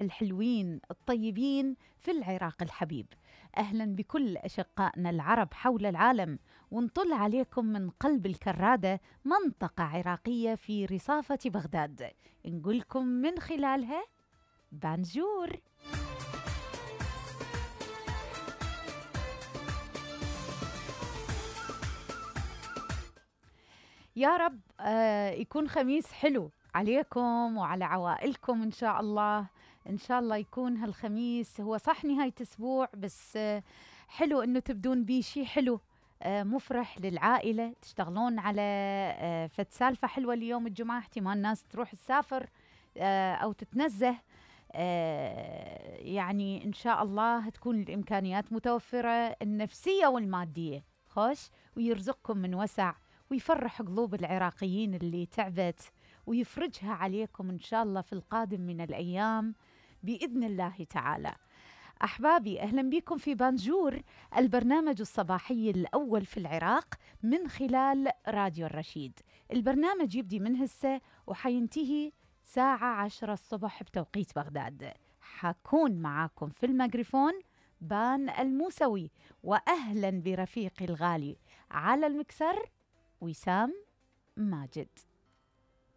الحلوين الطيبين في العراق الحبيب. أهلا بكل أشقائنا العرب حول العالم، ونطل عليكم من قلب الكرادة، منطقة عراقية في رصافة بغداد، نقولكم من خلالها بانجور. يا رب يكون خميس حلو عليكم وعلى عوائلكم إن شاء الله. إن شاء الله يكون هالخميس هو صح نهاية أسبوع، بس حلو إنه تبدون بيه شي حلو مفرح للعائلة، تشتغلون على فد سالفة حلوة اليوم الجمعة، احتمال ناس تروح تسافر أو تتنزه. يعني إن شاء الله تكون الإمكانيات متوفرة، النفسية والمادية خوش، ويرزقكم من وسع ويفرح قلوب العراقيين اللي تعبت، ويفرجها عليكم إن شاء الله في القادم من الأيام بإذن الله تعالى. أحبابي، أهلا بكم في بانجور، البرنامج الصباحي الأول في العراق من خلال راديو الرشيد. البرنامج يبدي من هسه وحينتهي الساعة 10 الصبح بتوقيت بغداد. حكون معاكم في الميكروفون بان الموسوي، وأهلا برفيقي الغالي على المكسر وسام ماجد.